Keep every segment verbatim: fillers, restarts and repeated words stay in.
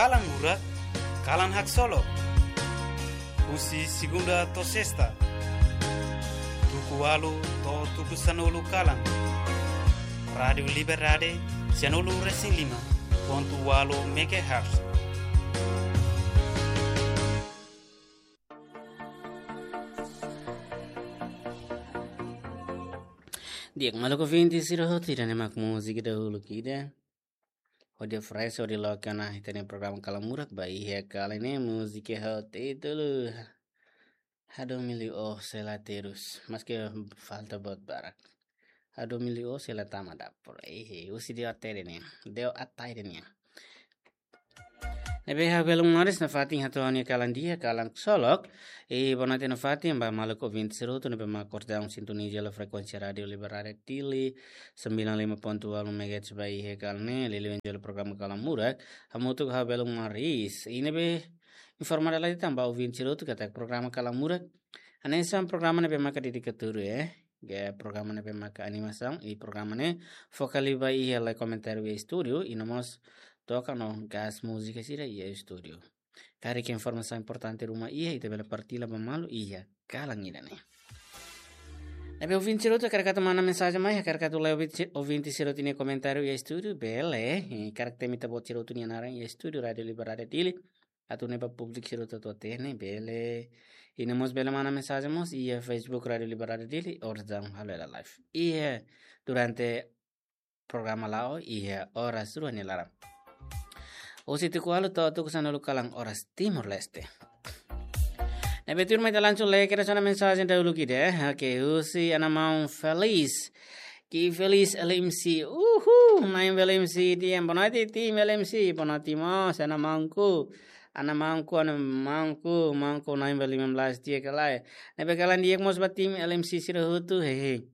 Kalan Murak, kalan haksolok. Husi segunda to'o sesta, tuku ualu to'o tuku sanulu kalan. Rádiu Liberdade, sianulu resin lima pontu ualu megahertz. Di'ak, maluk ouvinte sira hotu, ida-ne'e mak múzika dahuluk ida. Hodi fresh, hodi loke ona ita-nia programa Kalan Murak ba iha kalan ne'e, múzika ho títulu Hadomi liu ó sei la terus. Maske falta buat barak. Hadomi liu ó sei la tama dapur. Ehe, husi Deo Atai nian. Deo Atai nian. Ne'ebé ha'u belun moris nafatin hato'o ha'u-nia kalan di'ak, kalan solok. I boa noite nafatin ba maluk ouvinte sira hotu ne'ebé mak kordang sintoniza hela frekuénsia Rádiu Liberdade Dili, sembilan lima pontu ualu megahertz ba iha kalan ne'e, liuliu iha programa Kalan Murak. Hamutuk ha'u belun moris. I ne'ebé informa dala ida tan ba ouvinte sira hotu katak programa Kalan Murak hanesan programa ne'ebé maka dedika tuur, eh. Ke programa ne'ebé maka animasaun, i programa ne'e foka liu ba iha lai komentáriu iha estúdiu, i no mós toka no gás múzika sira iha estúdiu. Karik informasaun importante ruma iha, ita bele partilla ba malu iha kalan ida-ne'e. Ne'ebé ouvinte sira hotu karik atu manda mensajen mai, karik atu lee ouvinte, ouvinte sira hotu nia komentáriu iha estúdiu, bele, eh, karik temi ita-boot sira hotu nia naran iha estúdiu Rádiu Liberdade Dili. Atu nune'e ba públiku sira hotu atu hatene, bele. I no mós bele manda mensajen mós iha Facebook Rádiu Liberdade Dili, oras daudaun halo hela live. Iha durante programa la'o iha oras rua nia laran. Husi tuku ualu to'o tuku sanulu kalan oras Timor-Leste. Ne'ebé tuirmai ita langsung lee kedas ona mensajen dahuluk ida, eh. Oke, husi Ana Maun Felis. Ki Felis L M C. Uhu, Na'in Bel M C, di'ak, boa noite, tim L M C. Boa noite mós, Ana Maunku. Ana Maunku, Ana Maunku, Maunku Na'in Bel lima belas, di'ak ka lae. Ne'ebé kalan di'ak mós ba tim L M C sira hotu, hehe.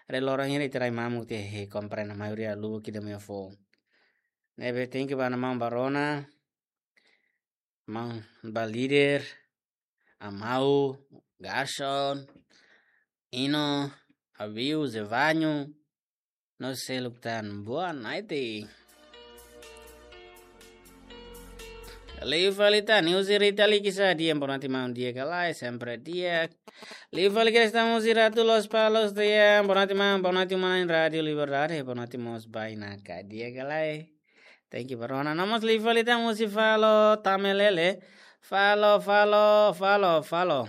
Rai loron hira ita rai mamuk tiha, hehe, komprende, maioria lubuk ida-ne'e foun. Ne'ebé thank you ba Ana Maun Barona, Maun ba Líder, Amau, Garson, Ino, Abiu, Zevanho, no seluk tan. Boa noite. Liu fali tan, husi Rita Likisa, di'ak, boa noite maun, di'ak ka lae, sempre di'ak. Liu fali kedas tan husi Ratu Lospalos, di'ak, boa noite maun, boa noite uma-na'in Rádiu Liberdade, boa noite mós ba Inaka, di'ak ka lae. Thank you, Barona. No mós liu fali tan husi Falo Tamelele. Falo, Falo, Falo, Falo.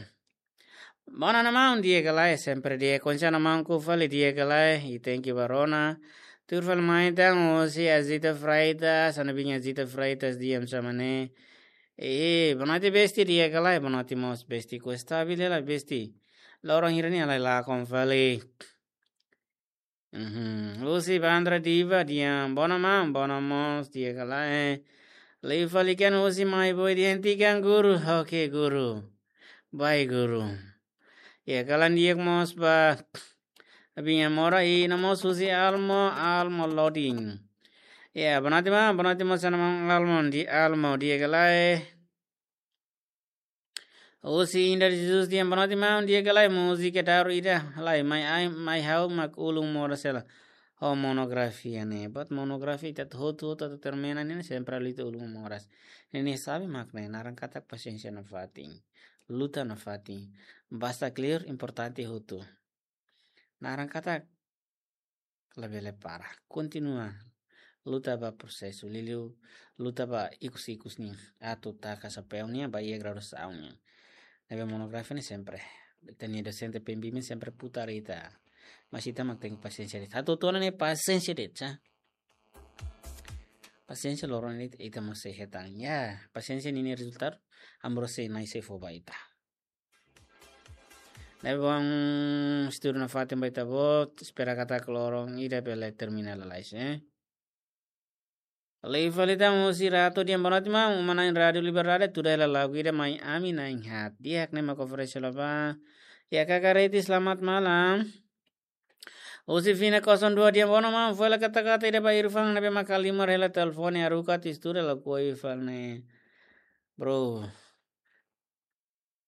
Boa noite maun, di'ak ka lae, sempre di'ak, konsa Ana Maunku fali, di'ak ka lae, i thank you Barona. Tuir fali mai tan husi Azita Freitas, Ana Binha Azita Freitas, di'ak, sama ne. Eh, boa noite besti, di'ak ka lae, boa noite mós besti, ku estabil hela besti. Loron hira-ne'e halai lakon fali. Mhm. Husi Bandra Diva, di'ak, boa noite maun, boa noite mós, di'ak ka lae. Liu fali tan husi Mai Boy, di'ak, hentikan guru, oke guru. Baik guru. Ya, kalan di'ak mós ba Abinha Mora i no mós husi Almo, Almo Loading. Ya, boa noite maun, boa noite mós Ana Maun Almo, di'ak Almo, di'ak ka lae. Husi Inda Jesus, di'ak, boa noite maun, di'ak ka lae, múzika daruak ida, lae, mai ai, mai ha'u mak ulun moras hela ho monografia ne'e. Buat monografia ita hotu-hotu atu termina ne'e, sempre halo ita ulun moras. Ne'e ne'e sabe mak ne'e, naran katak pasiénsia nafatin. Luta nafatin. Basta kleur, importante hotu. Naran katak labele para. Kontinua luta ba prosesu, liuliu luta ba ikus-ikus nian, atu taka xapeu nian ba iha graduasaun nian. Ne'ebé monografia ne'e sempre, ita-nia dosente pembimbing sempre putar ita. Mas ita mak tenke pasiénsia de'it. Atu tona ne'e pasiénsia de'it, sa. Pasiénsia loron ne'e ita mós sei hetan. Ya, pasiénsia ninia rezultadu, amor sei nai sei fó ba ita. Ne'ebé bom, estudu nafatin ba ita-boot, espera katak loron ida bele termina lalais, eh. Liu fali tan husi Ratu, di'ak, boa noite maun, uma-na'in Rádiu Liberdade, tuda hela lagu ida mai ami na'in-haat. Di'ak, ne'e mak oferese hela ba. Ya, Kaka Reti, selamat malam. Husi Fina kosong dua, di'ak, boa noite maun, fó hela kata-kata ida ba Irfan ne'ebé mak halimar hela telefone, haruka atu estuda, lakohi fali ne'e. Bro.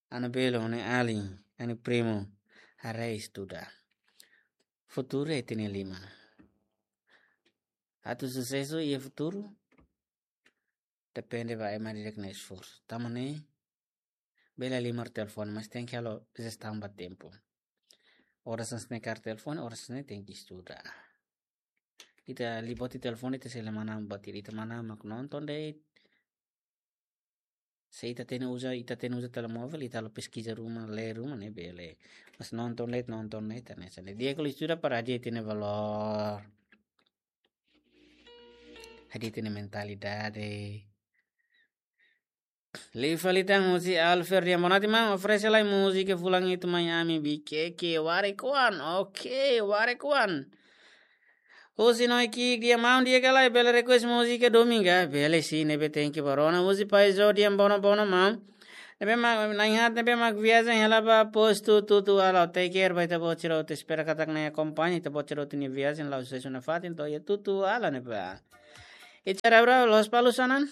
Ana belo, ne'e alin, ne'e primu, haree estuda. Futuru ita-nia liman. Atu susesu iha futuru, Depende ba ema di'ak nia esforsu. Tanba ne'e, bele halimar telefone, mas tenke halo jestaun ba tempu. Oras hanesan ne'e kaer telefone, oras hanesan ne'e tenke estuda. Ita liu buat iha telefone, ita sei la manán buat ida, ita manán mak nonton de'it. Se ita hatene uza, ita hatene uza telemóvel, ita halo peskiza ruma, lee ruma, ne'e bele. Mas nonton de'it, nonton de'it, hanesan ne'e. Di'ak liu estuda para hadi'a ita-nia valór. Hadi'a ita-nia mentalidade. Liu fali tan husi Alfer di'ak, boa noite maun, oferese lai múzika fulan ida mai ami, Bikeke, Warek Oan, oke, Warek Oan. Husi Noi Ki'ik di'ak, maun, di'ak ka lae, bele request múzika domingu, bele sin, ne'ebé tenke barona, husi Paizo di'ak, bono, bono maun. Ne'ebé mak, na'in-haat ne'ebé mak viajen hela ba postu Tutuala, take care ba ita-boot sira hotu, espera katak Na'i akompaña ita-boot sira hotu nia viajen, la'o susesu nafatin to'o iha Tutuala ne'ebá. Icara bra, Lospalos sanan?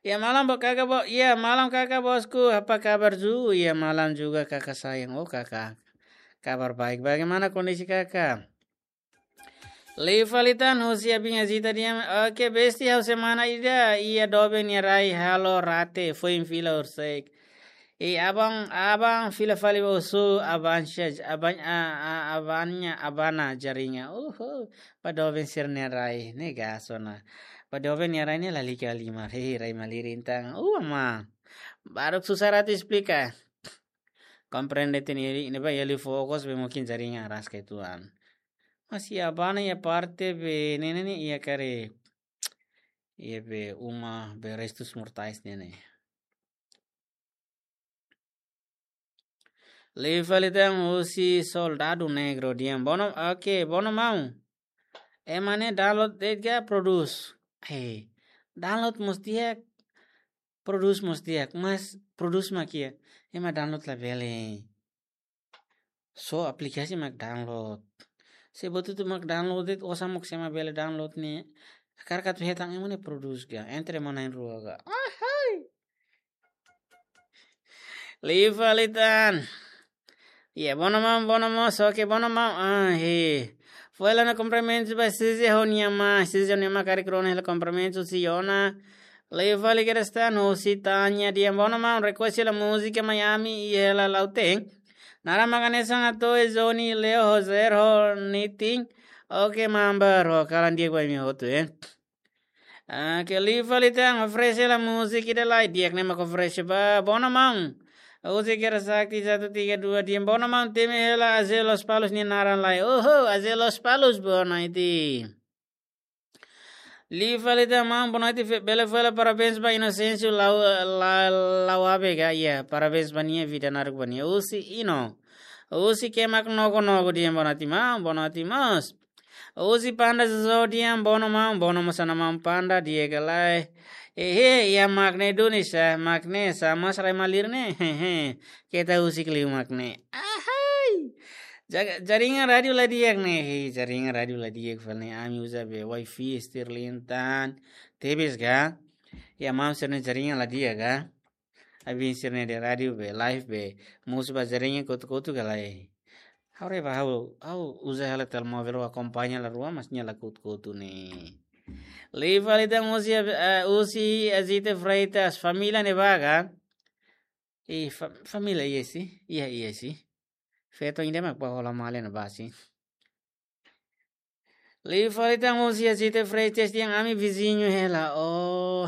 Iha malam bo kaka bo, iha malam kaka bosku, apa kabar ju? Iha malam juga kaka sayang. Oh kaka, kabar baik. Bagaimana kondisi kaka? Liu fali tan husi Abin Azita di'ak, oke besti, ha'u semana ida iha doben nia rai halo rate, foin fila horisehik. I aban, aban fila fali ba husu, aban sej, aban, a, a, abannya, abana jaringan. Uhu, ba doben sira-nia rai, ne'e gaso ona. Ba doben nia rai ne'e lalika halimar, hehe, rai malirin tan. Uh, ama. Baruk susah atu esplika. Komprende tiha ne'e, ne'ebá iha liu fokus be mungkin jaringan araska uitoan. Mas iha abana iha parte be ne'e ne'e iha karik, iha be uma be restus mortais ne'e ne'e. Liu fali tan husi Soldadu Negro di'ak, bono, oke, bono maun. Ema ne'e download de'it ka prodús? Eh, download mós di'ak, prodús mós di'ak, mas prodús mak iha, ema download labele. Só aplikasi mak download. Se buat hotu mak download de'it, osan mós ema bele download ne'e. Hakarak atu hetan ema ne'e prodús ka, entre ema na'in-rua ka. Ahai. Liu fali tan. Iha, bono maun, bono mós, oke, bono maun. Ah, he. Foin hela ona kumprimentu ba Suzy ho nia mãe, Suzy ho nia mãe karik rona hela kumprimentu, Siona. Liu fali kedas tan, husi Tanya di'ak, bono maun, request hela múzika mai ami, iha hela Lautém. Naran mak hanesan atu Johnny, Leo, José, ho Nitin. Oke, maun, bro, kalan di'ak ba imi hotu, eh. Ah, ke liu fali tan, oferese lai múzika ida lai, di'ak ne'e mak oferese ba, bono maun. Husi Kera Sakti satu tiga dua di'ak, bono maun, temi hela Aze Lospalos nia naran lai. Oho, Aze Lospalos, boa noite. Liu fali tan maun, boa noite, fe-, bele fó hela parabéns ba Inocêncio Lau-, La-, Lauabe ka, iha, parabéns ba nia, vida naruk ba nia. Husi Ino. Husi Kemak Nogo Nogo di'ak, boa noite maun, boa noite mós. Husi Panda Jojo di'ak, bono maun, bono mós ona maun Panda, di'ak ka lae. Ehe, iha mak ne'e duni sá, mak ne'e sá, mas rai malirin ne'e, hehe. Keta husik liu mak ne'e. Ahai! Jaga, jaringan rádiu la di'ak ne'e, he, jaringan rádiu la di'ak fali ne'e, ami uza be wifi Starlink tan, tebes ka. Iha maun sira-nia jaringan la di'ak ka. Abin sira-nia rádiu be, live be, mosu ba jaringan kotuk-kotuk ka lae. Ha'u haree ba ha'u, ha'u uza hela telemóvel ha'u akompaña la rua, mas nia la kotuk-kotuk ne'e. Liu fali tan husi, eh, husi Azite Freitas, família ne'ebá ka? I fa-, família iha si, iha, iha si. Feto ida mak ba hola malen ba si. Liu fali tan husi Azite Freitas di'ak, ami viziñu hela. Oh.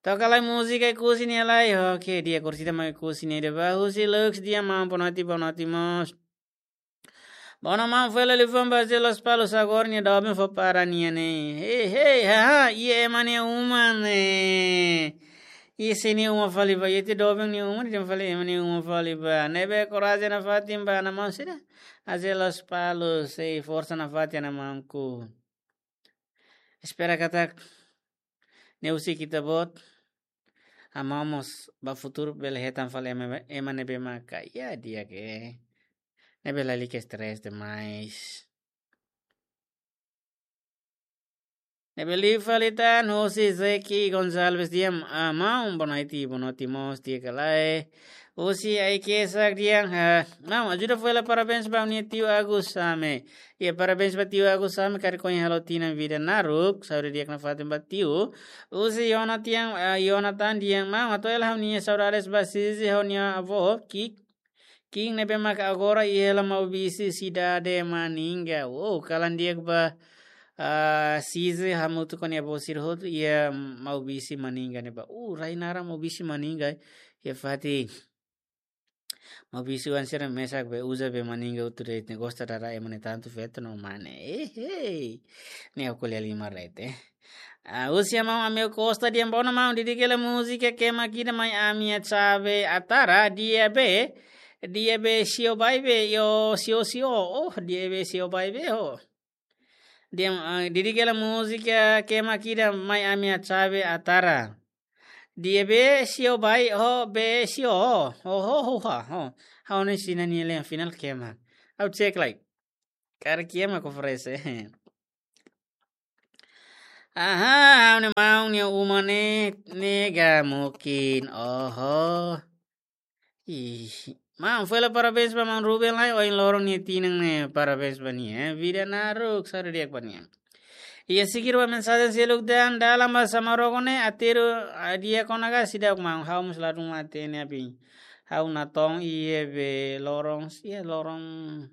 Toka lai múzika Oekusi nia lai. Oke, di'ak, orsida mak Oekusi nia ida ba. Husi Lux di'ak, maun, boa noite, boa noite mós. Bono maun, foin hela liafuan ba Aze Lospalos, agora nia doben fó para nia ne'e. Hei, hei, haha, iha ema nia uma ne'e. Iha sé nia uma fali ba, iha ita doben nia uma, nia fali ema nia uma fali ba. Ne'ebé korajen nafatin ba, maun sira. Aze Lospalos, sei forsa nafatin, maunku. Espera katak ne'e husik ita-boot. Ha'u mós ba futuru bele hetan fali ema, ema ne'ebé maka iha di'ak, ne'ebé lalika estrés demais. Ne'ebé liu fali tan husi Zeki Gonçalves di'ak, ah, maun, boa noite, boa noite mós, di'ak ka lae. Husi Aike Sak di'ak, ah, maun, ajuda fó hela parabéns ba ha'u-nia tiu Agus Same. Iha parabéns ba tiu Agus Same, karik ohin halo tinan vida naruk, saúde di'ak nafatin ba tiu. Husi Yonatan, ah, Yonatan di'ak, maun, hato'o hela ha'u-nia saudades ba Sisi ho nia avó, Kik, Kiin ne'ebé mak agora iha hela Maubisse sidade Maninga. Wow, kalan di'ak ba, ah, Sisi hamutuk ho nia avó sira hotu iha Maubisse Maninga ne'ebá. Uh, rai naran Maubisse Maninga. Iha fatin Maubisse oan sira mesak be uza be Maninga hotu de'it, ne'e gosta dada ema ne'e tantu feto no mane. Eh, hey. Ne'e aku lihat lima rete. Ah, husi maun Amel Costa di'ak, boa noite maun, dedika hela múzika Kema Kida mai ami-nia txave Atara, di'ak be, di'ak be sio bai be, yo sio sio, oh, di'ak be sio bai be, oh. Di'ak, ah, dedika hela múzika Kema Kida mai ami-nia txave Atara. Di'ak be sio bai, oh, be sio, oh, oh, oh, oh, oh. Ha'u-nia sira-nia lian final Kema. Ha'u cek lai. Karik Kema ko oferese. Aha, ha'u-nia maun nia uma ne'e, ne'e ga mungkin. Oho. Ih, maun, fó hela parabéns ba maun Ruben lai, ohin loron nia tinan ne'e, parabéns ba nia, eh. Vida naruk, saúde di'ak ba nia. Iha seguir ba mensajen seluk tan, dalan ba Samaroko ne'e, aterru, ah, di'ak ona ka seidauk maun, ha'u mós ladún hatene abin. Ha'u natoon iha be loron, iha loron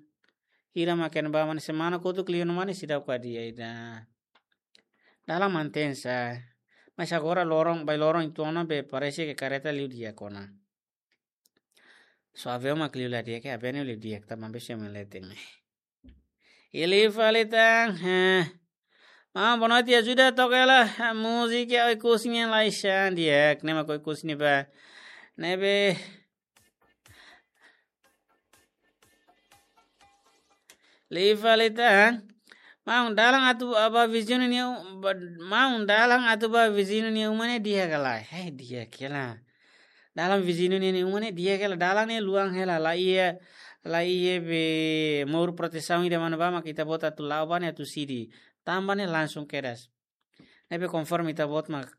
hira mak ne'ebá mak ne'e semana kotuk liu no mak ne'e seidauk ka di'ak ida. Dalan mantein sá. Mas agora loron, bai loron uitoan ona be parese ke kareta liu di'ak ona. Só aviaun mak liu la di'ak, ke aviaun liu di'ak, tanba be sira mak leten ne'e. Iha liu fali tan, eh. Maun, boa noite, ajuda toka hela, eh, múzika Oekusi nian lai xan di'ak, ne'e mak Oekusi ne'ebá. Ne'ebé liu fali tan. Maun, dalan atu ba viziñu nia u-, ba, maun, dalan atu ba viziñu nia uma ne'e di'ak ka lae? Hei, di'ak hela. Dalan viziñu nia, nia uma ne'e di'ak hela. Dalan ne'e luan hela, la iha, la iha be mour protesaun ida manu ba mak ita-boot atu la'o ba ne'e atu sidi. Tanba ne'e langsung kedas. Ne'ebé konforme ita-boot mak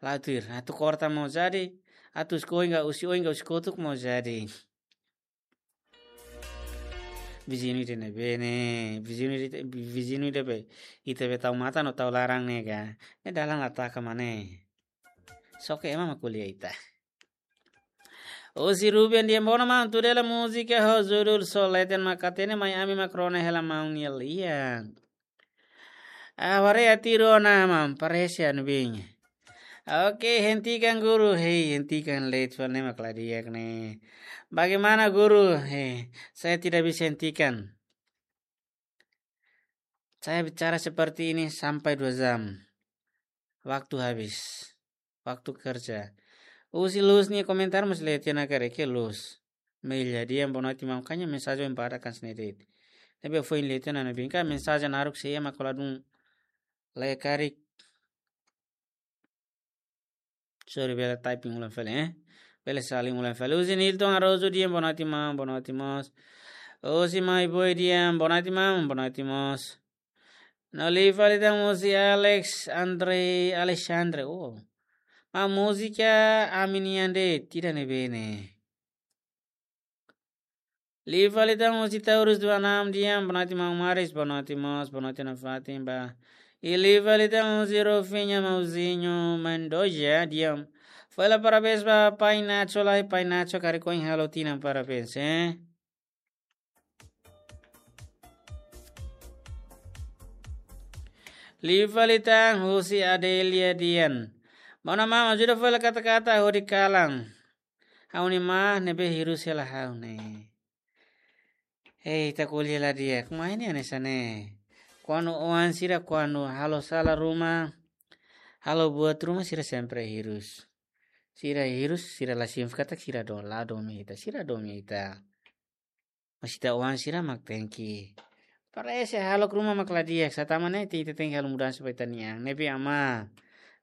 la'o tuir. Atu korta mós jadi, atu husi oin ka husi, oin ka husi kotuk mós jadi. Viziñu ida ne'ebé ne'e, viziñu ida, viziñu ida be, ita be tau matan no tau laran ne'e ka. Ne'e dalan la taka mak ne'e. Só ke ema mak ko'alia ita. Husi Ruben di'ak, boa noite maun, tuda hela múzika ho judul Só Leten Mak Hatene mai ami mak rona hela maun nia lian. Ah, haree atirona maun, parese anu binya. Oke, hentikan guru. Hei, hentikan late fali ne'e mak la di'ak ne'e. Bagaimana guru? Hei, saya tidak bisa hentikan. Saya bicara seperti ini sampai dua jam. Waktu habis. Waktu kerja. Husi Luz nia komentar mós leten ona karik, Luz. Meilia di'ak, boa noite maun, ha'u-nia mensajen badak kan sini de'it. Tapi foin leten ona, bingka mensajen naruk sei ema kola dun lai karik. Sorry, bele typing ulang fali, eh. Bele saling ulang fali. Husi Nilton Arojo di'ak, boa noite maun, boa noite mós. Husi Mai Boy di'ak, boa noite maun, boa noite mós. No liu fali tan husi Alex Andre Alexandre. Oh. Maun, múzika ami nian de'it, ida ne'ebé ne'e. Liu fali tan husi Taurus dua enam di'ak, boa noite maun Maris, boa noite mós, boa noite nafatin ba. I liu fali tan husi Rofinha Mauzinho Mendoza di'ak. Fó hela parabéns ba Pai Nacho lai, Pai Nacho karik ohin halo tinan, parabéns, eh. Liu fali tan husi Adelia di'ak. Maun, maun, ajuda fó hela kata-kata hodi kalan. Ha'u-nia maun ne'ebé hirus hela ha'u ne'e. Hei, ita ko'alia la di'ak, maun, ne'e hanesan ne'e. Kuandu oan sira kuandu halo sala ruma, halo buat ruma sira sempre hirus. Sira hirus, sira la signifika katak sira do-, la domin ita, sira domin ita. Mas ita oan sira mak tenke. Parese halo ruma mak la di'ak, sá tama ne'e ita tenke halo mudansa ba ita-nia an. Ne'ebé amá,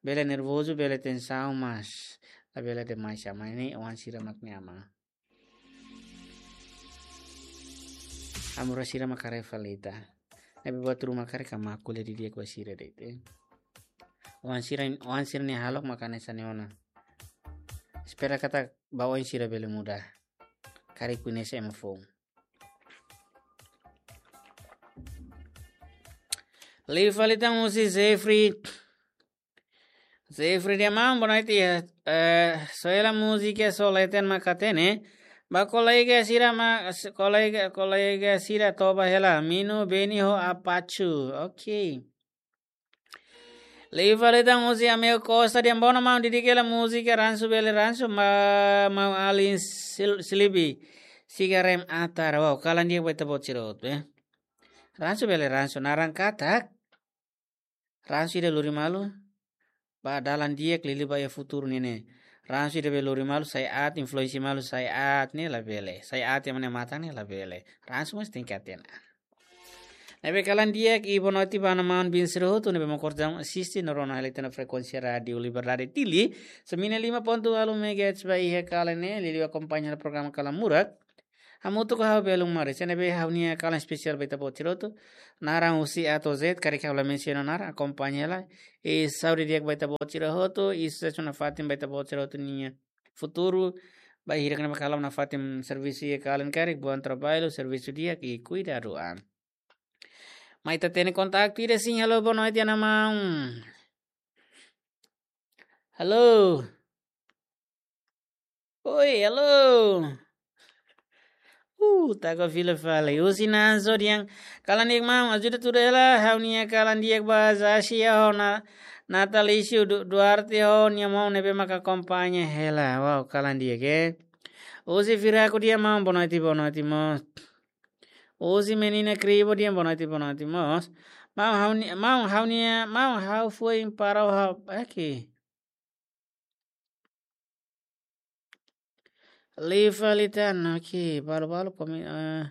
bele nervozu, bele tensaun, mas labele demais amá, ne'e oan sira mak ne'e amá. Amor sira mak haree fali ita. Ne'ebé buat ruma karik amá ko'alia didi'ak ba sira de'it, eh. Oan sira, oan sira-nia hahalok maka hanesan ne'e ona. Espera katak ba oan sira bele muda. Karik koñese ema foun. Liu fali tan husi Jeffrey. Jeffrey dehan maun, boa noite. Eh, só hela múzika só leten maka hatene. Ba kolega sira ma, kolega, kolega sira toba hela. Minu Beni ho Apachu. Ok. Liu fali tan husi Amel Costa dehan bono maun, didik hela múzika Ransu Bele Ransu, ma, maun Alin Sil-, Silibi. Siga rem atar. Wow, kalan di'ak ba ita-boot sira hotu, eh. Ransu Bele Ransu, naran katak. Ransu ida lori malu ba dalan di'ak, liuliu ba iha futuru nian ne'e. Ransu ida bele lori malu, sai aat, influensia malu, sai aat ne'e labele. Sai aat iha ema nia matan ne'e labele. Ransu mós tenke hatene. Ne'ebé kalan di'ak i boa noite ba maun-alin sira hotu ne'ebé mak orsida asiste no rona hela ita-nia frekuénsia Rádiu Liberdade Dili, sembilan lima ponto walu megahertz ba iha kalan ne'e, liuliu akompaña programa Kalan Murak. Hamutuk ho ha'u Belun Maris, ne'ebé ha'u-nia kalan espesiál ba ita-boot sira hotu. Naran husi A to'o Z, karik ha'u la mensiona naran, akompaña hela. I saúde di'ak ba ita-boot sira hotu, i susesu nafatin ba ita-boot sira hotu nia futuru. Ba hirak ne'ebé kalan nafatin servisu iha kalan karik, bom trabalho, servisu di'ak i kuidadu an. Mai ita hatene kontaktu ida sin, halo, boa noite, ana maun. Halo. Oi, halo. Uh, taka fila fali. Husi Nazo dehan, kalan di'ak maun, ajuda tuda hela, ha'u-nia kalan di'ak ba Zasia ho na, Natalício Du-, Duarte ho nia maun ne'ebé maka akompaña hela. Wow, kalan di'ak, eh. Husi Firaku dehan maun, boa noite, boa noite, maun. Husi Menina Kribo dehan boa noite, boa noite, mós. Maun ha'u-nia, maun ha'u-nia, maun ha'u foin para ha'u, oke. Liu fali tan, oke, balu-balu komi-, eh,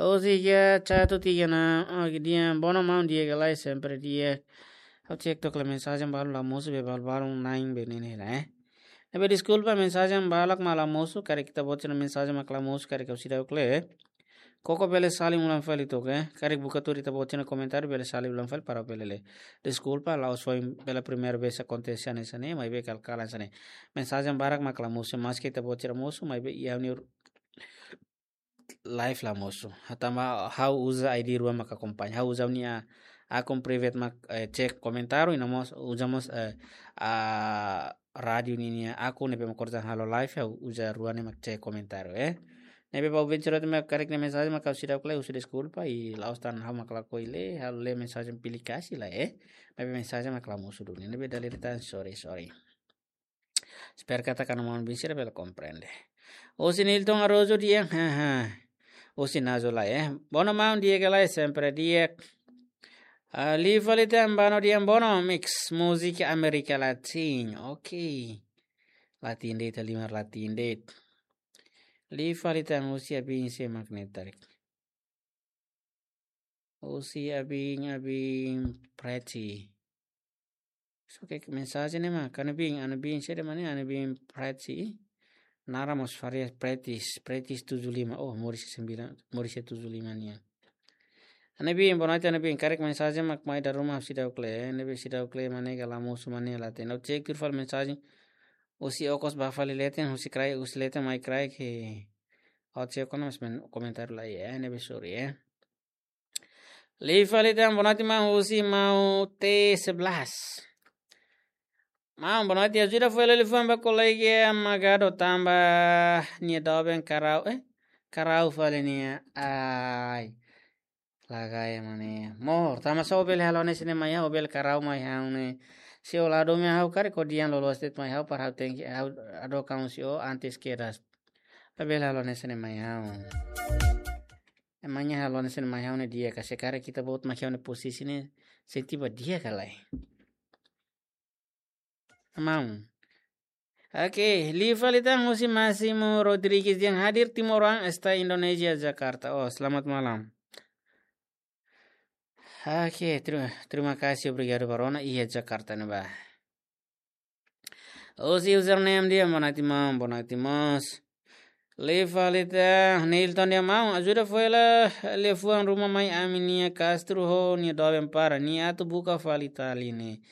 husi iha chat tiga enam, oke, dehan bono maun, di'ak ka lae, sempre di'ak. Ha'u cek took hela mensajen balu la mosu be, balu-balu na'in be ne'e ne'e la, eh. Ne'ebé deskulpa, mensajen barak mak la mosu, karik ita-boot sira-nia mensajen mak la mosu, karik ha'u seidauk lee. Koko bele salin ulang fali took, eh. Karik buka tuir ita-boot sira-nia komentáriu bele salin ulang fali para bele lee. Deskulpa, la'ós foin pela primeira vez akontese hanesan ne'e, maibé kal-, kalan hanesan ne'e. Mensajen barak mak la mosu, maski ita-boot sira mosu, maibé iha ha'u-nia live la mosu. Tanba ha'u uza I D rua mak akompaña. Ha'u uza ha'u-nia akun private mak, eh, cek komentáriu, i no mós uza mós, eh, a rádiu ninia akun ne'ebé mak orsida halo live, ha'u uza rua ne'e mak cek komentáriu, eh. Ne'ebé ba ouvinte sira hotu mak karik lee mensajen mak ha'u seidauk lee, husu deskulpa, i la'ós tan ha'u mak lakohi lee, ha'u lee mensajen pilih kasih la, eh. Maibé mensajen mak la mosu duni. Ne'ebé dala ida tan, sorry, sorry. Espera katak maun-alin sira bele komprende. Husi Nilton Araújo dehan, haha. Husi Nazo la, eh. Bono maun, di'ak ka lae, sempre di'ak. Ah, liu fali tan Bano dehan bono, mix múzika Amérika Latina. Oke. Latin de'it, ita halimar Latin de'it. Liu fali tan husi Abin se magnetar. Husi Abin, Abin Pretty. So ke mensajen ne'e mak, Ana Bin, Ana Bin, sede mane, Ana Bin Pretty. Naran mós variasi, Pretty, Pretty tujuh lima. Oh, moris sembilan, moris tujuh lima nian. Ana Bin, boa noite, Ana Bin. Karik mensajen mak mai dala ruma seidauk lee, ne'ebé seidauk lee mane ka la mosu mane la hatene. Ha'u cek tuir fali mensajen. Husi okos ba fali leten, husi kraik, husi leten mai kraik, eh. Ha'u cek kona mas men komentáriu la, eh, ne'ebé sorry, eh. Liu fali tan, boa noite, maun, husi maun T sebelas. Maun, boa noite, ajuda fó hela liafuan ba kolega Magado tanba nia doben karau, eh? Karau fali nia, ai. Lagai mane. Mós, tanba só bele halo hanesan ne'e mai ha'u, bele karau mai ha'u ne'e. Se ó la hadomi ha'u karik ó dehan loloos de'it mai ha'u, para ha'u tenke, ha'u hadook an husi ó antes kedas. Labele halo hanesan ne'e mai ha'u. Emangnya halo hanesan ne'e mai ha'u ne'e di'ak ka, se karik ita-boot mak iha ha'u-nia posisi ne'e, sente ba di'ak ka lae. Maun. Oke, liu fali tan husi Máximo Rodrigues dehan hadir, timoroan está Indonézia, Jakarta. Oh, selamat malam. Oke, terima, terima kasih, obrigadu ba rona iha Jakarta ne'ebá. Husi username dehan boa noite maun, boa noite mós. Liu fali tan, Nilton dehan maun, ajuda fó hela liafuan ruma mai ami-nia Castro ho nia doben para, nia atu buka fali tali ne'e.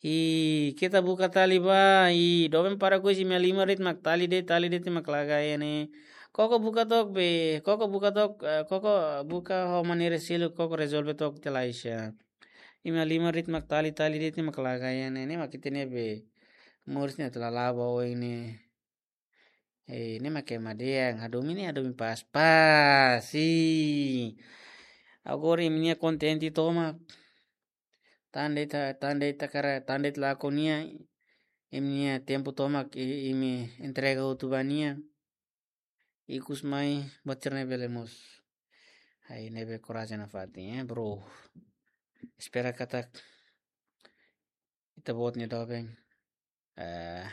I keta buka tali ba, i doben para kuis imi-nia liman de'it mak tali de'it, tali de'it mak la gaya ne'e. Koko buka took be, koko buka took, eh, koko buka ho maneira seluk, koko rezolve took tiha Laisha. Imi-nia liman de'it mak tali, tali de'it mak la gaya ne'e, ne'e mak ita-nia be. Moris ne'e tala laba oin ne'e. Eh, ne'e mak ema dehan, hadomi ne'e, hadomi pas, pas, i. Agora imi-nia kontente tomak. Tan de'it, tan de'it hakarak, tan de'it lakon nia, imi-nia tempu tomak, i, imi entrega hotu ba nia. Ikus mai, buat sira-ne'e bele moos. Ai, ne'ebé korajen nafatin, eh, bro. Espera katak ita-boot nia doben. Eh,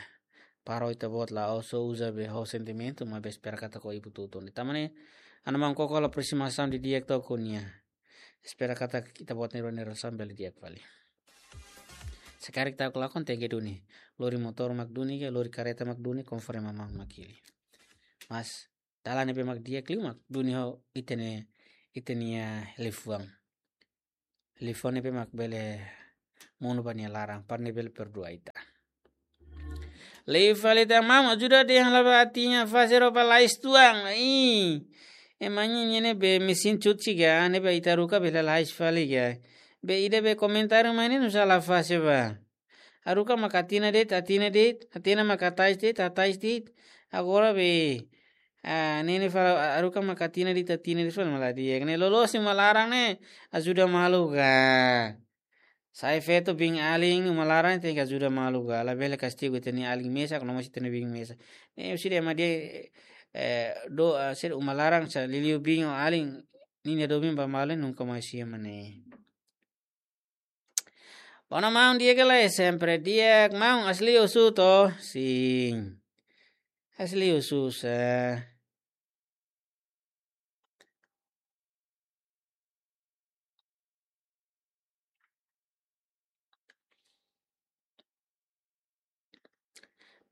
para ita-boot la'ós uza be ho sentimentu, maibé espera katak ho ibu tutun. Tanba ne'e, ha'u-nia maun koko halo aproximasaun didi'ak took ho nia. Espera katak ita-boot nia relasaun bele di'ak fali. Se karik ta'uk lakon tenke duni. Lori motór mak duni ka, lori kareta mak duni, konforme maun mak hili. Mas, dalan ne'ebé mak di'ak liu mak duni ho ita-nia, ita-nia liafuan. Liafuan ne'ebé mak bele monu ba nia laran, para nia bele perdua ita. Liu fali tan maun, ajuda dehan la'o ba ita-nia fase roupa lais tuan. Ih. Ema nia ne'e be mesin cuci ka, ne'ebé ita haruka be lalais fali ka. Be ida be komentáriu mai ne'e nusá la fase ba. Haruka mak katina de'it, katina de'it, katina mak hatais de'it, hatais de'it. Agora be, ah, ne'e ne'e fala, haruka mak katina de'it, katina de'it fala mak la di'ak. Ne'e loloos imi-nia laran ne'e, ajuda malu ka. Sai feto biin alin, uma laran tenke ajuda malu ka. Labele kastigu ita-nia alin mesak, no mós ita-nia biin mesak. Ne'e husi ema dehan, eh, do, ah, sira uma laran sira liuliu biin ho alin, ninia domin ba malu nunka mai siha mak ne'e. Bono maun di'ak ka lae, sempre di'ak maun, asli husu to? Sin. Asli husu sa.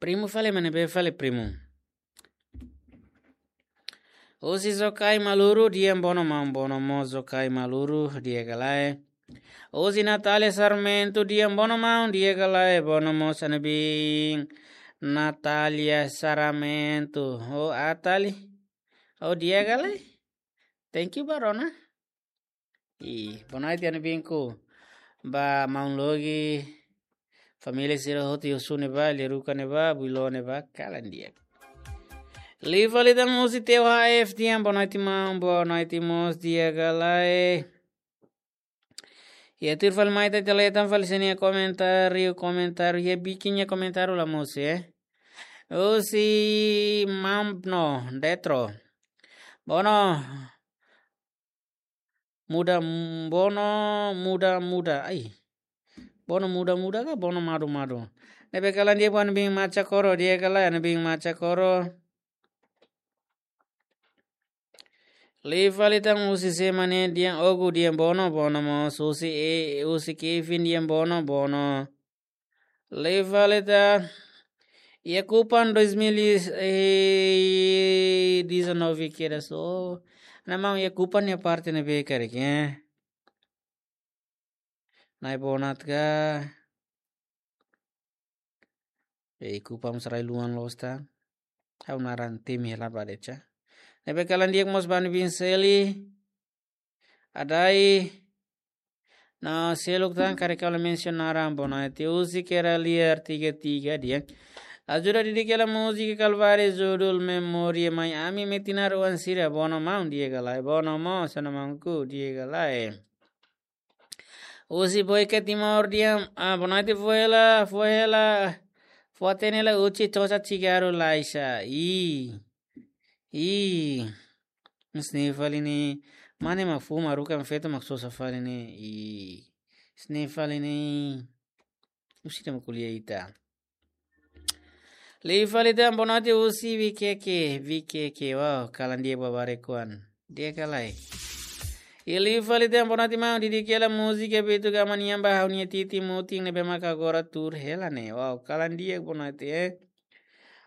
Primu fali, mana be fali primu. Husi Zokai Maluru, di'ak bono maun, bono mós Zokai Maluru, di'ak ka lae. Husi Natália Sarmento, di'ak bono maun, di'ak ka lae, bono mós ha'u-nia biin. Natália Sarmento, oh Atali. Oh di'ak ka lae. Thank you ba rona. I, bonoite ha'u-nia biin ku. Ba maun Logi, família sira hotu, Yosune ba, Leruka ne'e ba, Builo ne'e ba, kalan di'ak. Liu fali tan husi T H F di'ak, bonoite maun, bonoite mós di'ak ka lae. Iha tuir fali mai ita leten fali sira-nia komentáriu, komentáriu, iha bikin nia komentáriu la mosu, eh. Husi Mamno, Detro. Bono, muda, bono, muda, muda. Ai. Bono muda, muda ka bono madu, madu. Ne'ebé kalan di'ak ba ha'u-nia biin Macha Koro, di'ak ka lae ha'u-nia biin Macha Koro. Liu fali tan husi Semane di'ak, Ogu di'ak bono, bono mós husi e, husi Kevin di'ak bono, bono. Liu fali tan iha Kupang dois mil e dezanove kedas. Ha'u-nia maun iha Kupang nia parte ne'ebé karik, eh. Nai Bonat ka. Iha Kupang sarai luan losta. Ha'u naran temi hela ba de'it. Ne'ebé kalan di'ak mós ba ha'u-nia biin Seli. Adai. No seluk tan karik ha'u la mensiona naran, bonoite husi Kera Liar tiga tiga di'ak. Ajuda didik hela múzika Kalváriu judul Memória, mai ami metin naroan sira, bono maun, di'ak ka lae, bono mós ha'u-nia maunku, di'ak ka lae. Husi Boika Timor di'ak, ah, bonoite fó hela, fó hela, fó hatene hela husi Tosa Cigarro Laisha. Ih. Ih. Husi ne'e fali ne'e. Mane mak fó, mak haruka, mak feto mak sosa fali ne'e. Ih. Husi ne'e fali ne'e. Husi ita mak ko'alia ita. Liu fali tan bonoite husi Vikeke, Vikeke, wow, kalan di'ak ba barak kuan. Di'ak ka lae. I liu fali tan bonoite maun, didik hela múzika Beto Gama nian ba ha'u-nia titi mutin ne'ebé maka agora tuur hela ne'e. Wow, kalan di'ak bonoite, eh.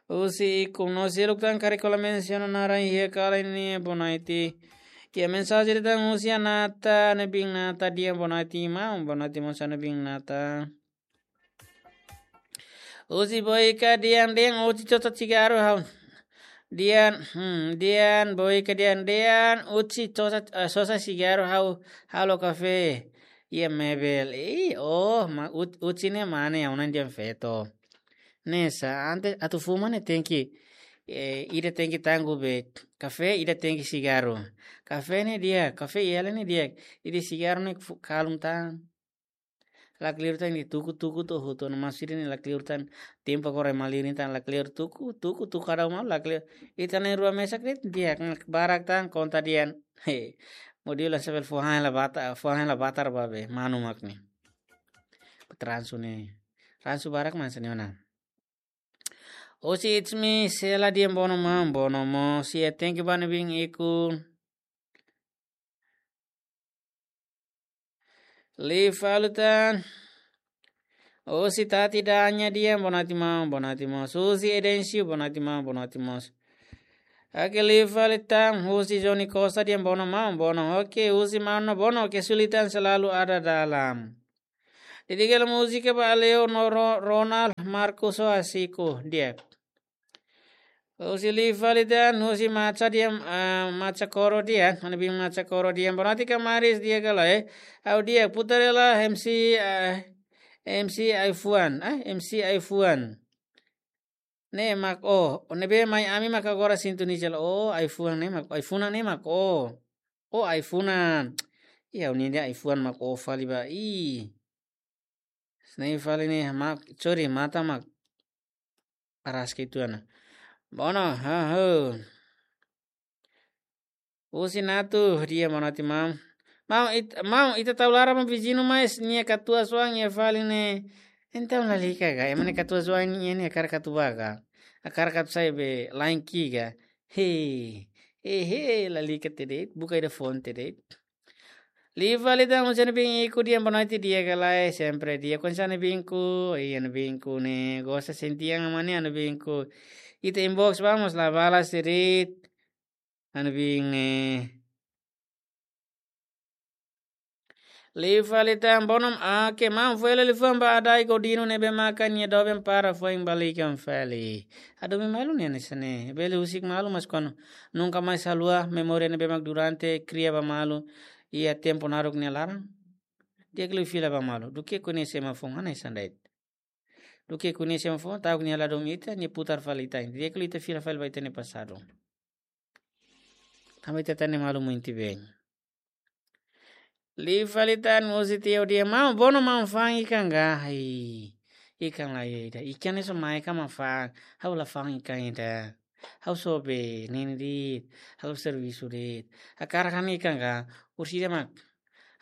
Husi Ikum, no seluk tan karik ha'u la mensiona naran iha kalan ne'e, bonoite. Iha mensajen tan husi Anata, ha'u-nia biin Nata, di'ak bonoite maun, bonoite mós ha'u-nia biin Nata. Husi Boika dehan, dehan, husi sosa sigarru ha'u. Dehan, hmm, dehan, Boika dehan, dehan, husi sosa, eh, sosa sigarru ha'u, halo kafé. Iha Mebel. Ih, oh, ma, ut-, husi ne'e mane, ya, unan dehan feto. Ne'e sá, antes atu fuma ne'e tenke, eh, ida tenke tanggung be kafé, ida tenke sigarru. Kafé ne'e di'ak, kafé iha hela ne'e di'ak. Ida sigarru ne'e fu-, kalun tan. Lakleur tan ida tuku-tuku to'o hotu, no maksudnya ne'e lakleur tan tempu agora malirin tan lakleur tuku-tuku, tuku kada uma lakleur. Ita na'in-rua mesak de'it di'ak, barak tan konta dehan. He. Modelo sambil fuhan la bata, fuhan la batar ba be, manu mak ne'e. Transu ne'e. Transu barak man seniona. Husi It's Me, Sela dehan bono maun, bono mós, si e tenke bane bin iku. Liu fali tan. Husi Tati Danya dehan bonatimau, bonatimau. Husi Edencio, bonatimau, bonatimau. Oke, liu fali tan. Husi Johnny Costa dehan bono maun, bono. Oke, husi maun no bono, kesulitan selalu ada dalam. Dedika hela múzika ba Leo no Ro-, Ronald Marcos ho Asiko, di'ak. Husi liu fali tan, husi Macha dehan, ah, Macha Koro dehan, mane bin Macha Koro dehan, bonatimau kamaris di'ak ka lae, eh. Ha'u di'ak, putar hela M C, ah, M C iPhone, ah, M C iPhone. Ne'e mak ó, ó ne'ebé mai ami mak agora sintoniza hela, ó, iPhone ne'e mak, iPhone ne'e mak ó. Ó, iPhone. Iha, ó-nia dehan iPhone mak ó fali ba, ih. Ne'e fali ne'e mak, sorry, matan mak. Aras ke itu ana. Bono, ha, ho. Husi Natu, dehan bonatimau. Maun, it-, maun, ita tau laran ba viziñu, mas nia katuas-oan iha fali ne'e. Entaun lalika ka, ema nia katuas-oan nian ne'e hakarak atu bá ka. Hakarak atu sai be lain ki'ik ka. He, he, he, lalika tiha de'it, buka ida fó tiha de'it. Liu fali tan, husi Ana Binku dehan bonoite di'ak ka lae, sempre di'ak. Konsa Ana Binku, ih, Ana Binku ne'e, gosta sentiang ama ne'e Ana Binku. Ita inbox vamos la balas tiha de'it. Ana Binku ne'e. Liu fali tan, bono, ah, ke maun fó hela liafuan ba Adai Godino ne'ebé maka nia doben para foin balikan fali. Ado mi malu ne'e hanesan ne'e. Bele husik malu, mas kuandu nunka mais haluha memória ne'ebé mak durante kria ba malu iha tempu naruk nia laran. Di'ak liu fila ba malu. Duké koñese ema foun hanesan de'it. Duké koñese ema foun, ta'uk nia ladún ita, nia putar fali ita. Di'ak liu ita fila fali ba ita-nia pasadu. Tanba ita hatene malu muito bem. Liu fali tan, husi Tio dehan, maun, bono maun fa'an ikan ka? Ai, ikan lae ida. Ikan ne'e só mai ka mak fa'an. Ha'u la fa'an ikan ida. Ha'u só be nini de'it. Ha'u servisu de'it. Hakarak han ikan ka? Orsida mak.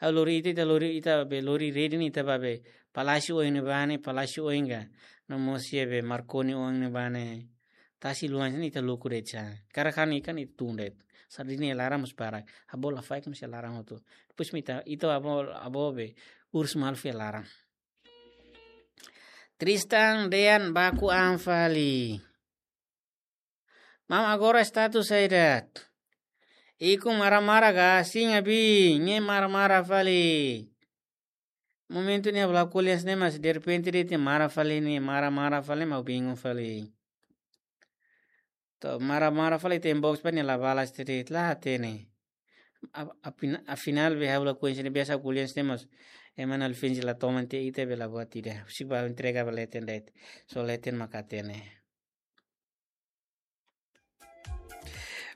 Ha'u lori ita, ita lori ita be lori rede ne'e ita bá be Palásiu oin ne'ebá ne'e, Palásiu oin ka. No mós iha be Marconi oin ne'ebá ne'e. Tasi luan sini ita luku de'it sa. Hakarak han ikan ita tun de'it. Sardina iha laran mós barak. Abó lafaek mós iha laran hotu. Depois mak ita, ita abó, abó be urus malu fila laran. Tristan dehan baku an fali. Maun, agora status saida? Ikus mara-mara ka, sin abi, ne'e mara-mara fali. Momentu ne'e ha'u la ko'alia hanesan ne'e, mas derrepente de'it nia mara fali, nia mara-mara fali, maun, bingung fali. To'o mara-mara fali, ita inbox ba nia la balas tiha de'it, la hatene. A, a fina-, afinál be ha'u la ko'alia hanesan ne'e, biasa ko'alia hanesan ne'e, mas ema na alfinji la toman tiha ita be la buat ida. Husik ba entrega ba leten de'it. Só leten mak hatene.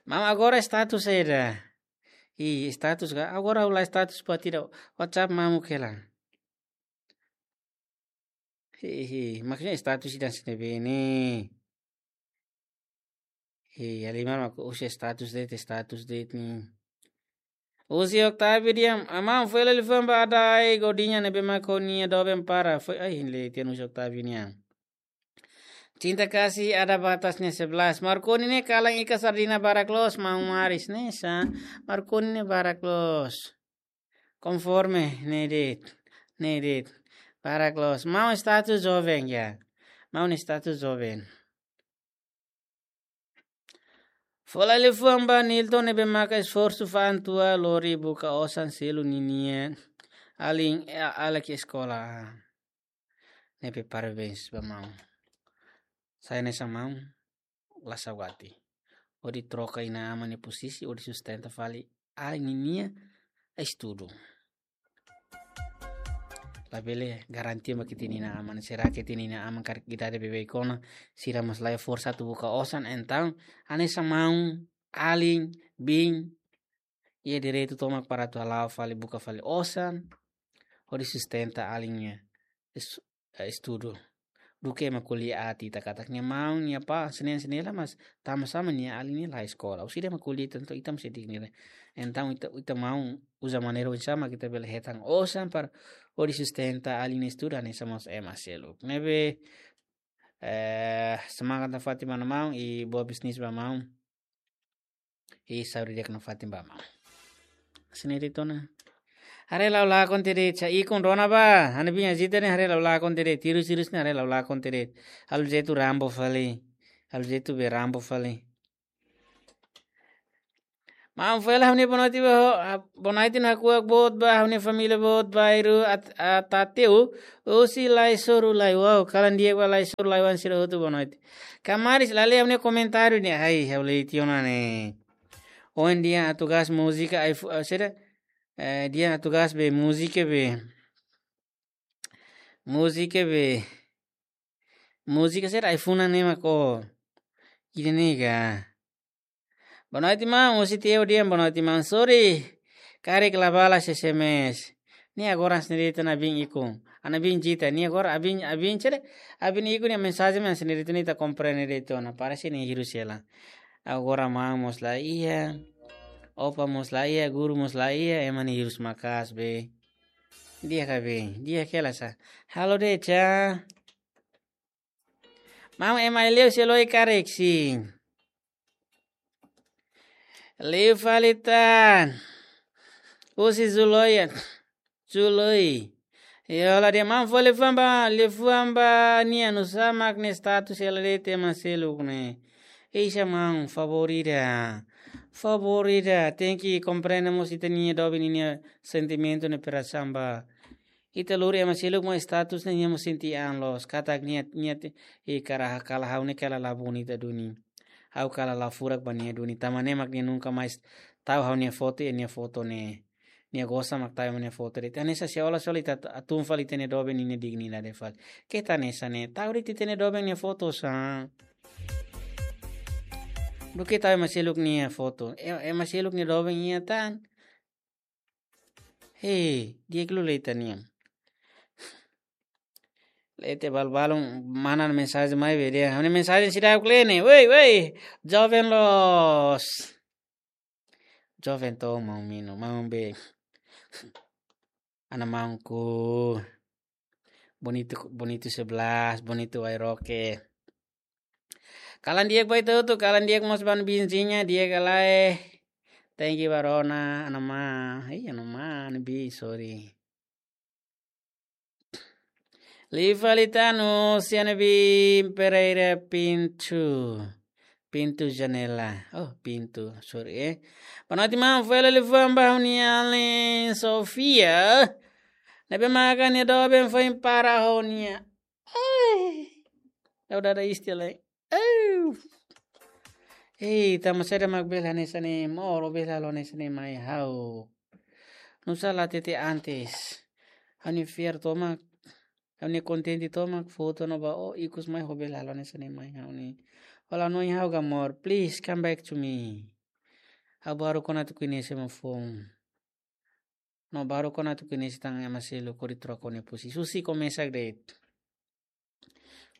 Maun, agora status saida? Ih, status ka? Agora ha'u la status buat ida. WhatsApp mamuk hela. Hehe, maksudnya status ida hanesan ne'ebé ne'e. Hehe, Alimar mak husi status de'it, status de'it ne'e. Husi Octavio dehan, maun, fó hela liafuan ba Adai Godinho ne'ebé mak nia doben para. Foin, ai, hein le tian husi Octavio nian. Cinta kasih ada batasnya sebelas. Marconi ne'e kalan ikan sardina barak loos, maun, maris ne'e sá. Marconi ne'e barak loos. Konforme ne'e de'it, ne'e de'it. Barak loos. Maun, status joven ya. Maun, status joven. Fó hela liafuan ba Nilton ne'ebé maka esforsu fa'an tua lori buka osan selu ninia alin, eh, alin ke eskola. Ne'ebé parabéns ba maun. Sai hanesan maun, la saugati. Hodi troka inan-aman nia posisi, hodi sustenta fali alin ninia estudu. Labele garantia ba ita-nia inan-aman, será que ita-nia inan-aman karik idade beibeik ona, sira mós laiha forsa atu buka osan, entaun, hanesan maun, alin, biin, iha direitu tomak para atu hala'o fali, buka fali osan, hodi sustenta alin nia es-, eh, estudu. Duké ema ko'alia aat ita katak nia maun, nia apá, hanesan ne'e, hanesan ne'e, mas tanba sá mak nia alin ne'e la eskola. Husi ida ema ko'alia, entaun ita mós sei dignifikadu. Entaun ita, ita maun uza maneira oinsá mak ita bele hetan osan para hodi sustenta alin nia estudu, hanesan mós ema seluk. Ne'ebé, eh, semangat nafatin ba maun, i boa bisnis ba maun. I saúde di'ak nafatin ba maun. Hanesan ne'e de'it ona. Haree la'o lakon tiha de'it, sa ikun rona ba. Ha'u-nia biin Ajita ne'e haree la'o lakon tiha de'it. Hirus-hirus ne'e haree la'o lakon tiha de'it. Halo jeitu Rambo fali. Halo jeitu be Rambo fali. Maun Fuela, ha'u-nia boa noite ba ho, ah, boa noite no hakuak boot ba, ha'u-nia família boot ba, iru at-, atateu, husi lai-soru lai, wow, kalan di'ak ba lai-soru lai-oan sira hotu, boa noite. Kamaris, la lee ha'u-nia komentáriu ne'e, ai, ha'u lee tiha ona ne'e. Ohin dehan atu gás múzika, ai fu-, ah, sira, eh, dehan atu gás be múzika be. Múzika be. Múzika sira ai funan ne'e mak ó. Ida-ne'e ka. Boa noite, maun. Husi Teo dehan boa noite, maun. Sorry. Karik la balas S M S. Ne'e agora hanesan ne'e de'it ona, biin ikun. Ha'u-nia biin Jita. Ne'e agora abin, abin sira. Abin ikun nia mensajen mak hanesan ne'e de'it ona, ita komprende de'it ona. Parese ne'e hirus hela. Agora maun mós la iha. Opa mós la iha, guru mós la iha, ema ne'e hirus maka'as be. Di'ak ka be, di'ak hela sa. Halo de'it sa. Maun, ema Ileu Seloi karik si. Liu fali tan. Husi Zuloia. Zuloi. Yo, la dehan maun fó liafuan ba, liafuan ba nia, nusá mak nia status hela de'it ema seluk ne'e. Isa maun, favór ida. Favór ida. Tenke komprende mós ita-nia doben ninia sentimentu ne'e, perasaun ba. Ita lori ema seluk mak status ne'e, nia mós sente an loos. Katak nia, nia te, i kara kala ha'u ne'e kala la bonita duni. Ha'u kala la furak ba nia duni. Tanba ne'e mak nia nunka mais tau ha'u-nia foto, i nia foto ne'e. Nia gosta mak tau ema nia foto de'it. Hanesan se ola soli ta, ta, tun fali ita-nia doben ninia dignidade fali. Keta hanesan ne'e. Tau de'it ita-nia doben nia foto sa. Duké tau ema seluk nia foto. E, ema seluk nia doben iha tan. Hei, di'ak liu lee ita-nian. Lee tiha balu-balu, mana mensajen mai be dehan. Ha'u-nia mensajen seidauk lee ne'e. Woi, woi. Joven loos. Joven to maun Mino, maun be. Ana maunku. Bonito, bonito sebelas, bonito Wairoke. Kalan di'ak ba ita hotu, kalan di'ak mós ba ha'u-nia biin Zinha, di'ak ka lae. Thank you ba rona, ana maun. Ih, ana maun, ha'u-nia biin, sorry. Liu fali tan, husi ha'u-nia biin Pereira Pintu. Pintu janela. Oh, pintu, sorry, eh. Boa noite, maun. Fó hela liafuan ba ha'u-nia alin Sofia. Ne'ebé maka nia doben foin para ho nia. Ai. Ha'u dada istilah. Ai. Hei, tanba saida mak bele hanesan ne'e, moro bele halo hanesan ne'e mai ha'u. Nusá la hatete antes. Ha'u-nia fiar tomak, ha'u-nia kontente tomak, foto no ba ó ikus mai ho bele halo hanesan ne'e mai ha'u ne'e. Ó la hanoin ha'u ka amor, please come back to me. Ha'u baru kona atu koñese ema foun. No baru kona atu koñese tan ema seluk hodi troka ó-nia posisi. Husik ó mesak de'it.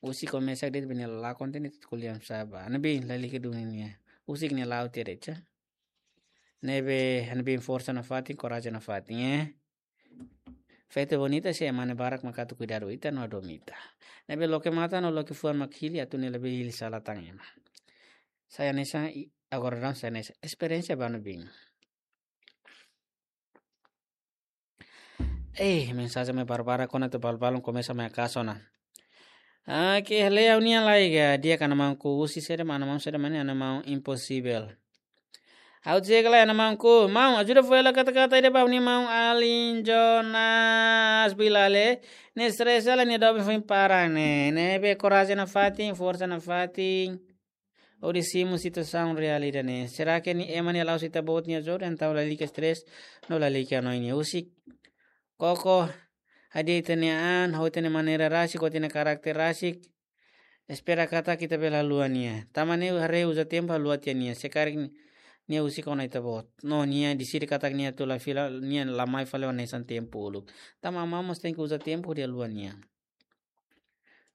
Husik ó mesak de'it, be nia la kontente atu ko'alia sá ba. Ha'u-nia biin, lalika duni nia. Husik nia la'o tiha de'it sa. Ne'ebé ha'u-nia biin forsa nafatin, korajen nafatin, eh. Feto bonita, se ema ne'e barak mak atu kuidadu ita no hadomi ita. Ne'ebé loke matan no loke fuan mak hili atu ne'e labele hili sala tan ema. Sai hanesan i-, agora daudaun sai hanesan. Esperiénsia ba ha'u-nia biin. Eh, mensajen mai barak-barak, kona atu balu-balu komesa mai kaso na. Ah, ke lee ha'u-nian lai ka, di'ak ka, ana maunku, husi saida mak, ana maun saida mak ne'e, ana maun Impossible. Ha'u di'ak lai, ha'u-nia maun Ku. Maun, ajuda fó hela katak-katak ida ba ha'u-nia maun alin Jonas Bilale. Ne'e stress hela, nia doben foin para ne'e. Ne'ebé korajen nafatin, forsa nafatin. Hodi simu situasaun reál ida-ne'e. Será que nia ema ne'e la'ós ita-boot nia ajuda, entaun lalika stress, no lalika hanoin nia. Husik koko, hadi'a ita-nia an, ho ita-nia maneira rasik, ho ita-nia karakter rasik. Espera katak ita bele haluha nia. Tanba ne'e haree uza tempu haluha tiha nia. Se karik nia husik ona ita-boot. No nia deside katak nia atu la fila, nia la mai fali hanesan tempu uluk. Tanba maun mós tenke uza tempu hodi haluha nia.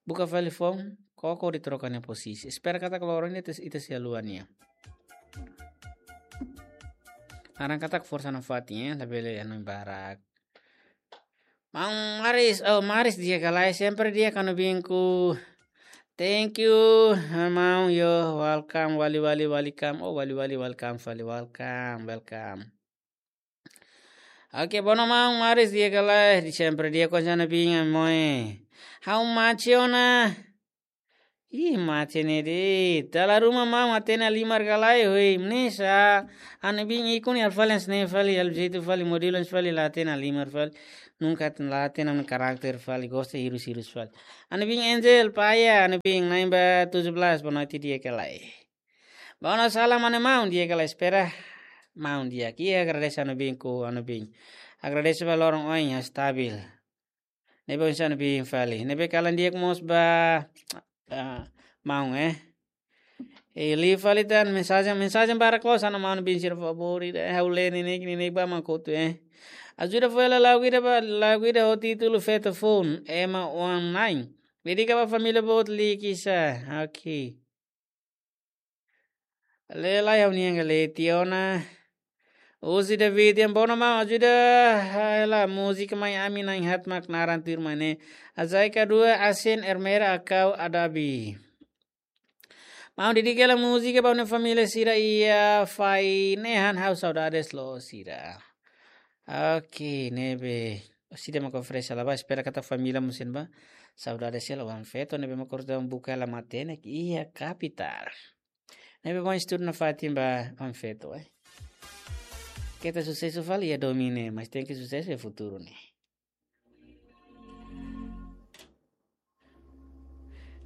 Buka fali foun, koko hodi troka nia posisi. Espera katak loron ne'e ita, ita sei haluha nia. Naran katak forsa nafatin, eh, labele hanoin barak. Maun Maris, oh, Maris di'ak ka lae, sempre di'ak ha'u-nia biin Ku. Thank you, maun, yo, welcome, wali wali welcome, oh, wali wali welcome, wali welcome, welcome. Oke, bono maun Maris di'ak ka lae, di sempre di'ak ho ha'u-nia biin Moe. Ha'u mate ona. Ih, mate ne'e de'it. Dala ruma maun hatene halimar ka lae, hoi. Mnisa, ha'u-nia biin ikun halo fali hanesan ne'e fali, halo jeitu fali, modelu hanesan fali, la hatene halimar fali. Nunka la hatene ha'u-nia karakter fali, gosta hirus-hirus fali. Ha'u-nia biin Angel, Paya, ha'u-nia biin na'in ba tujuh belas, boa noite di'ak ka lae. Bono salam ha'u-nia maun di'ak ka lae, espera maun di'ak. Iha, agradese ha'u-nia biin Ku, ha'u-nia biin. Agradese ba loron oin, ya, stabil. Ne'ebé oinsá ha'u-nia biin fali. Ne'ebé kalan di'ak mós ba, ah, maun, eh. Eh, liu fali tan mensajen, mensajen barak loos, ha'u-nia maun biin sira favór ida, eh, ha'u lee neineik, neineik ba mak hotu, eh. Ajuda fó hela lagu ida ba, lagu ida ho títulu Feto Foun, ema oan-na'in. Dedika ba família boot Likisá, oke. Lee lai ha'u-nian ka lee tiha ona. Husi David yang bono maun ajuda hela múzika Mai Ami Na'in Haat mak naran tuirmai ne'e. Azai Kadua, Asin Ermera Akau Adabi. Maun, dedika hela múzika ba ha'u-nia família sira iha Fai nehan, ha'u saudades loos sira. Oke, ne'ebé. Sira mak oferese hela ba, espera katak família mós sente ba saudades hela oan feto ne'ebé mak orsida buka hela matenek iha kapitál. Ne'ebé mak estuda nafatin ba oan feto, eh. Keta susesu fali iha domin ne'e, mas tenke susesu iha futuru ne'e.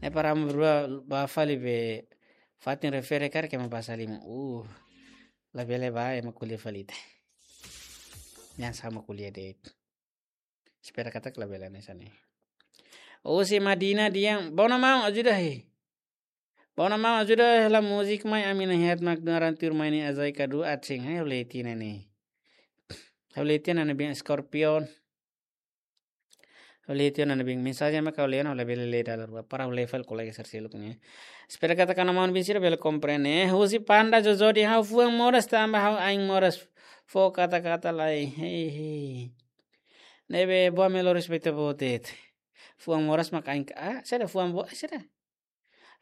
Ne'e para amu rua ba fali be fatin refere karik ema basa liman. Uh, labele ba ema ko'alia fali ita. Yang sama ko'alia de'it. Espera katak labele hanesan ne'e. Husi Madina dehan, bono maun ajuda he. Bono maun ajuda hela múzika Mai Ami Na'in Haat mak naran tuirmai ne'e, Azai Kadua, Asin. Ha'u lee tiha ona ne'e. Ha'u lee tiha ona ne'e, biin Scorpion. Ha'u lee tiha ona ne'e, biin, mensajen mak ha'u lee ona, labele lee dala rua. Para ha'u lee fali kolega sira seluk ne'e. Espera katak ha'u-nia maun biin sira bele komprende. Husi Panda Jojo dehan, ha'u fuan moras tanba ha'u ain moras, fó katak-katak lai. Hei, hei. Ne'ebé boa, melo respeita botet. Fuan moras mak ain ka, ah, saida fuan bo-, saida.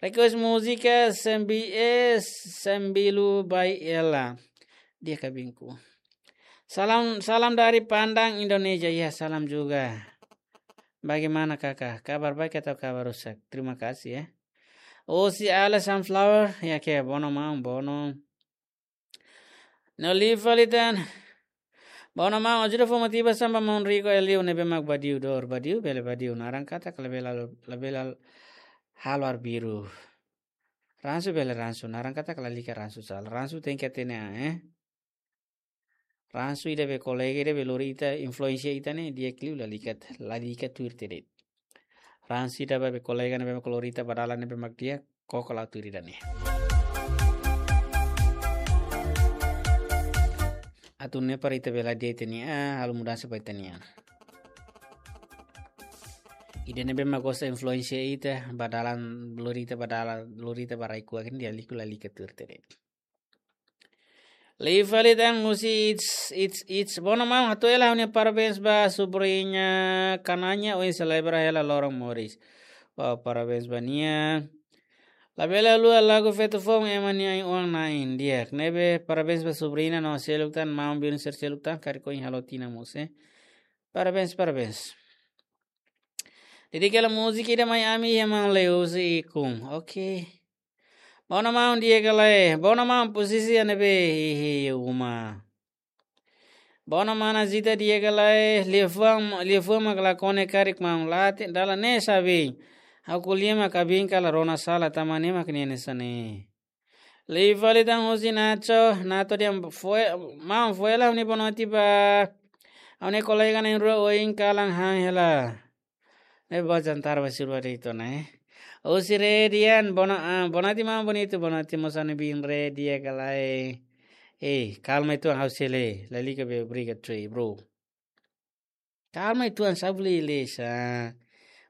Request múzika Sembi-, eh, Sembilu Bai Ela. Di'ak ka biin Ku. Salam, salam dari Padang, Indonesia. Ya, salam juga. Bagaimana kakak? Kabar baik atau kabar rusak? Terima kasih ya. Husi Ale Sunflower, ya ke, bono maun, bono. No liu fali tan. Bono maun, ajuda fó motivasaun ba maun Rico Eliu ne'ebé mak badiu dor, badiu bele badiu, naran katak labele, labele halo arbiru. Ransu bele ransu, naran katak lalika ransu sala. Ransu tenke hatene an, eh. Ransu ida be kolega ida be lori ita, influensia ita ne'e di'ak liu, lalika, lalika tuir tiha de'it. Ransu ida be kolega ne'ebé mak lori ita ba dalan ne'ebé mak di'ak, koko la'o tuir ida-ne'e. Atu nune'e para ita bele hadi'a ita-nia an, halo mudansa ba ita-nia an. Ida ne'ebé mak gosta influensia ita, ba dalan lori ita, ba dalan lori ita ba rai kuak ne'e, di'ak liu lalika tuir tiha de'it. Liu fali tan husi It's, It's, It's. Bono maun, hato'o hela ha'u-nia parabéns ba subriña Kananya, ohin selebra hela loron moris. Wow, parabéns ba nia. Labele haluha lagu Feto Foun, ema nia ain oan-na'in, di'ak. Ne'ebé parabéns ba subriña no seluk tan, maun biin sira seluk tan, karik ohin halo tinan mós, eh. Parabéns, parabéns. Dedika hela múzika ida Mai Ami iha maun Leusi ikun. Oke. Bona maun di'ak ka lae, bona maun posisi ne'ebé iha uma. Bona mana Zita di'ak ka lae, liafuan, liafuan mak la kone karik maun late, dala ne'e sabi. Ha'u ko'alia mak kabin kala rona sala tama ne'e mak nia hanesan ne'e. Liu fali tan husi Nacho, Nacho dehan fo'er, maun fo'er hela ha'u-nia bonoite ba. Ha'u-nia kolega na'in-rua ohin kalan han hela. Ne'e ba jantar ba sirwa de'it ona, eh. Husi Redian, bona, ah, bonoite maun bonitu, bonoite mós ha'u-nia biin Redia ka lae. Eh, kalma uitoan ha'u sei lee, lalika be briga trei, bro. Kalma uitoan, sabu le le sa.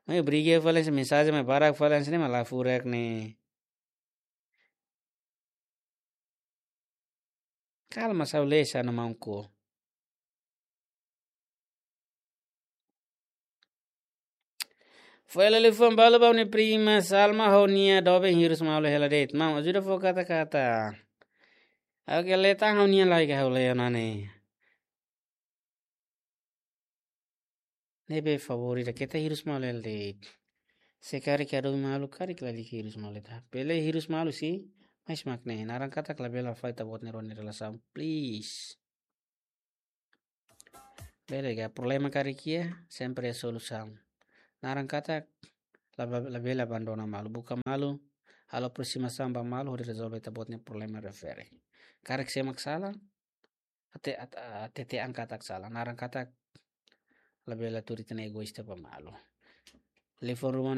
Mai briga fali hanesan mensajen mai barak fali hanesan ne'e mak la furak ne'e. Kalma, sabu le sa no maun ko. Fo'er hela liafuan balu ba ha'u-nia prima Salma, ha'u-nia doben hirus malu hela de'it. Maun, ajuda fó kata-kata. Oke, lee tan ha'u-nia lai ka ha'u lee ona ne'e. Ne'ebé favór ida keta hirus malu hela de'it. Se karik atu doben malu, karik lalika hirus malu de'it. Bele hirus malu sih, mas mak ne'e, naran katak labele fali ita-boot nia rona nia relasaun, please. Bele ka problema karik iha, sempre iha solusaun. Naran katak, la, la, labele abandona malu, buka malu, halo aproximasaun ba malu, hodi rezolve ita-boot nia problema refere. Karik sé mak sala, ate, at-, a, tete angkat katak sala, naran katak, labele tuur ita-nia egoísta ba malu. Liafuan ruma